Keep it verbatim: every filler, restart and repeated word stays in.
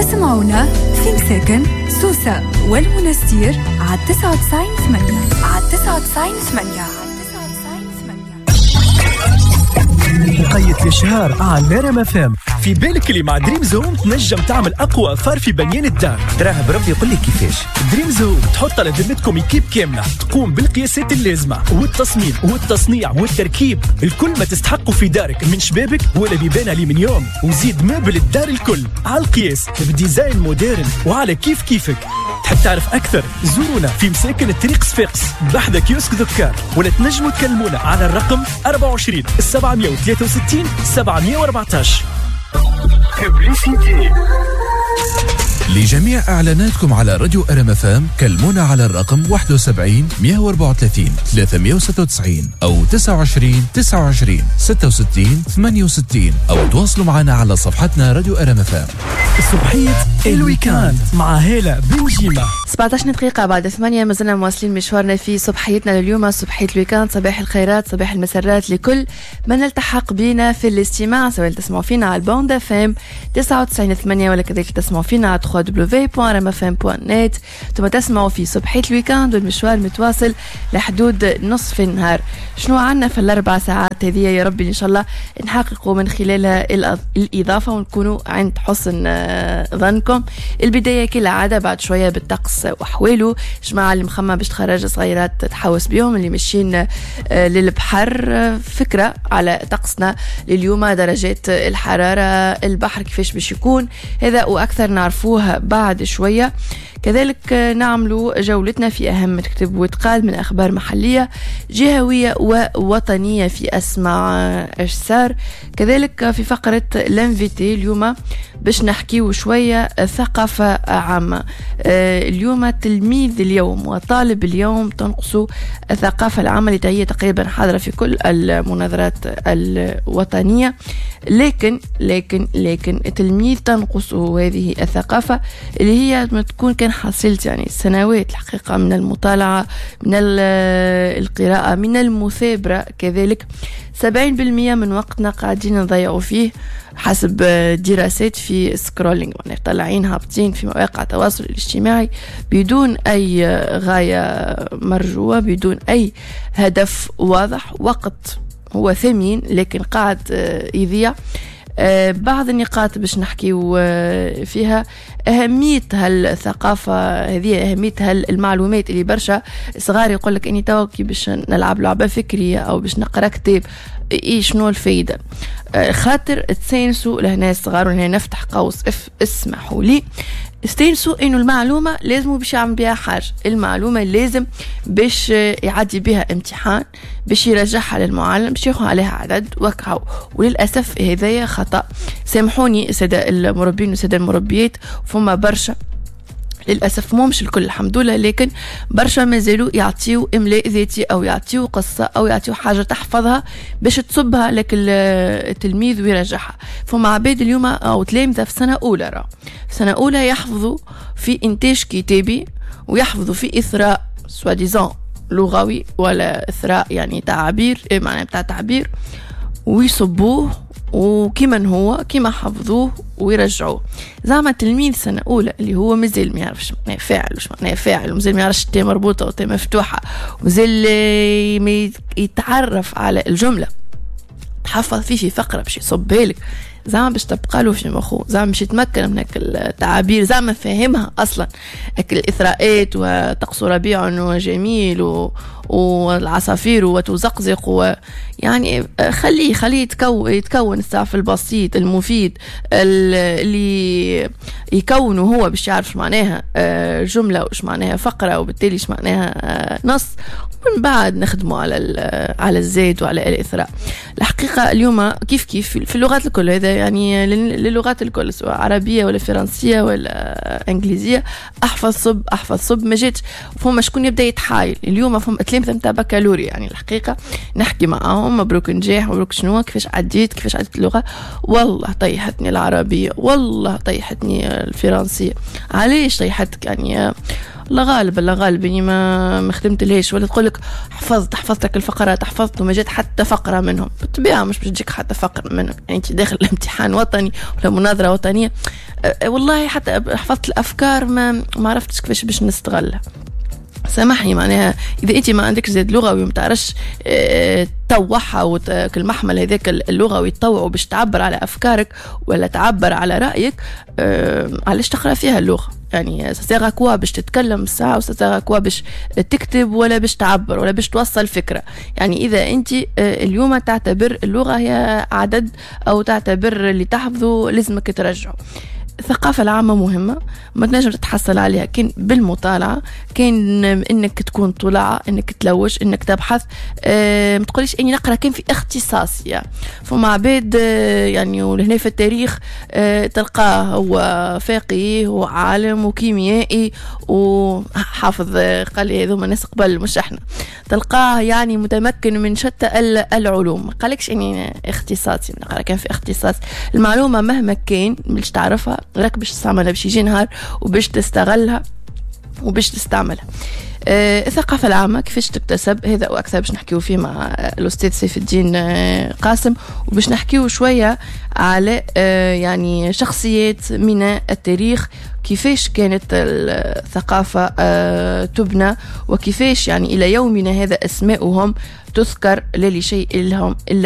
اسمعونا في مساكن سوسة والمنستير على تسعة وتسعين ثمانية، على تسعة وتسعين ثمانية. وقيت الإشهار على نرم فام. في بالك اللي مع دريمز هوم تنجم تعمل أقوى affaire في بنيان الدار. تراه بربي يقول لك كيفاش. دريمز هوم تحط على ذمتكم équipe كاملة تقوم بالقياسات اللازمة والتصميم والتصنيع والتركيب، الكل ما تستحقه في دارك من شبابك ولا بيبان ألمنيوم، وزيد meuble الدار الكل على القياس ب design moderne وعلى كيف كيفك. تحب تعرف أكثر؟ زورونا في مساكن الطريق صفاقس بحذا كيوسك ذكار، ولا تنجموا تكلمونا على الرقم أربعة وعشرين سبعمية وثلاثة وستين سبعمية وأربعتاش. لجميع إعلاناتكم على راديو أرم أف أم كلمونا على الرقم واحد وسبعين مية وأربعة وثلاثين ثلاثمية وستة وتسعين أو تسعة وعشرين تسعة وعشرين ستة وستين ثمانية وستين، أو تواصلوا معنا على صفحتنا راديو أرم أف أم. صبحية ال week-end مع هالة بنجيمة. سبعتاش دقيقة بعد ثمانية، ما زلنا مواصلين مشوارنا في صبحيتنا لليوم، صبحية ال week-end. صباح الخيرات، صباح المسرات لكل من التحق بنا في الاستماع، سواء تسمعوا فينا على ال bande FM تسعة وتسعين ثمانية ولا كذلك تسمعوا فينا على دبليو دبليو دبليو دوت ار ام اف ام دوت نت. ثم تسمعوا في صبحية ال week-end والمشوار متواصل لحدود نصف النهار. شنو عنا في الأربع ساعات هذه؟ يا ربي إن شاء الله نحققوا من خلالها الإضافة ونكونوا عند حسن ظنكم. البداية كالعادة بعد شوية بالطقس وأحواله، جماعة اللي مخمة باش تخرج صغيرات تحوس بيهم، اللي ماشيين للبحر، فكرة على طقسنا لليوم، درجات الحرارة، البحر كيفاش باش يكون، هذا وأكثر نعرفوه بعد شوية. كذلك نعمل جولتنا في أهم تكتب وتقال من أخبار محلية جهوية ووطنية في أسمع أجسار. كذلك في فقرة l'invité اليوم باش نحكيو شوية ثقافة عامة. اليوم تلميذ اليوم وطالب اليوم تنقص الثقافة العامة اللي هي تقريبا حاضرة في كل المناظرات الوطنية، لكن لكن لكن التلميذ تنقصه هذه الثقافة اللي هي تكون كان حصلت يعني سنوات الحقيقة من المطالعة، من القراءة، من المثابرة. كذلك سبعين بالمية من وقتنا قاعدين نضيعوا فيه حسب دراسات في scrolling، يعني طالعين هابطين في مواقع التواصل الاجتماعي بدون أي غاية مرجوة، بدون أي هدف واضح. وقت هو ثمين لكن قاعد يضيع. بعض النقاط باش نحكيو فيها أهمية هالثقافة هذه، أهمية هالمعلومات اللي برشا صغار يقول لك إني توا كي باش نلعب لعبة فكرية أو باش نقرأ كتاب، إيه شنو الفايدة؟ خاطر تسينسوا لهنا الصغار، ولهنا نفتح قوس اف اسمحوا لي، استنسوا انه المعلومة لازم باش يعمل بها حاجة، المعلومة لازم باش يعدي بها امتحان، باش يرجعها للمعلم، باش ياخذ عليها عدد وكهو. وللاسف هذايا خطا، سامحوني السادة المربين والسادة المربيات، فما برشا للأسف، مو مش الكل الحمد لله، لكن برشا مازالوا يعطيو إملاء ذاتي أو يعطيو قصة أو يعطيو حاجة تحفظها باش تصبها لك التلميذ ويرجعها. فما عباد اليوم أو تلامذة في سنة أولى، راه في سنة أولى يحفظوا في إنتاج كتابي ويحفظوا في إثراء soi-disant لغوي ولا إثراء يعني تعابير، معنى بتاع تعبير، ويصبوه وكيما هو كيما حفظوه ويرجعوه. زعما تلميذ سنة أولى اللي هو مازال ما يعرفش معناه فاعل وش معناه فاعل، ومازال ما يعرفش تاء مربوطة وتاء مفتوحة، ومازال ما يتعرف على الجملة، تحفظ فيه في فقرة باش يصبها لك، زعما باش تبقى له في مخه، زعما باش يتمكن من هاك التعابير، زعما فاهمها أصلا، هاك الإثراءات وطقس ربيع وجميل و... والعصافير وتزقزق و... يعني خليه خليه يتكون يتكون السعف البسيط المفيد اللي يكونه هو باش يعرف معناها جملة وش معناها فقرة وبالتالي ايش معناها نص، ومن بعد نخدمه على على الزيت وعلى الإثراء. الحقيقة اليوم كيف كيف في اللغات الكل، هذا يعني للغات الكل سواء عربية ولا فرنسية ولا إنجليزية، أحفظ صب أحفظ صب ما جاتش. فما شكون يبدأ يتحايل اليوم، فما تلامذة نتاع بكالوريا يعني الحقيقة نحكي معاهم مبروك نجاح مبروك شنو كيفاش عديت كيفاش عديت اللغة، والله طيحتني العربية، والله طيحتني الفرنسية. علاش طيحتك؟ يعني الله غالب، الله غالب، اني ما ما خدمت لهاش. ولا تقول لك حفظت، حفظتك الفقرات، حفظت وما جات حتى فقره منهم. بالطبيعة مش باش تجيك حتى فقره منهم، يعني انت داخل الامتحان وطني ولا مناظرة وطنيه. أه والله حتى حفظت الافكار ما ما عرفتش كيفاش باش نستغلها. سامحني، معناها اذا انت ما عندكش زاد لغوي وما تعرفش اه تطوعها، المحمل هذاك اللغوي تطوعه باش تعبر على افكارك ولا تعبر على رايك، اه علاش تقرا فيها اللغة؟ يعني ça sert à quoi باش تتكلم ساعة و ça sert à quoi باش تكتب ولا باش تعبر ولا باش توصل فكرة؟ يعني إذا أنت اليوم تعتبر اللغة هي عدد أو تعتبر اللي تحفظه لازمك ترجعه. الثقافة العامة مهمة، ما تنجم تتحصل عليها كان بالمطالعة، كان انك تكون طلع، انك تلوج، انك تبحث. أه ما تقوليش اني نقرا كان في اختصاصي. يعني فما عباد أه يعني ولهنا في التاريخ أه تلقاه هو فقيه وعالم وكيميائي وحافظ، قال لي هذوما ناس قبل مش احنا، تلقاه يعني متمكن من شتى العلوم. ما قالكش اني اختصاصي نقرا كان في اختصاص. المعلومة مهما كان باش تعرفها راك باش تستعملها، باش يجي نهار وباش تستغلها وباش تستعملها. آه الثقافة العامة كيفاش تكتسب؟ هذا وأكثر باش نحكيو فيه مع الأستاذ سيف الدين آه، قاسم، وباش نحكيو شوية على آه يعني شخصيات من التاريخ، كيفاش كانت الثقافة آه تبنى، وكيفاش يعني إلى يومنا هذا أسماؤهم تذكر لا لشيء لهم إلا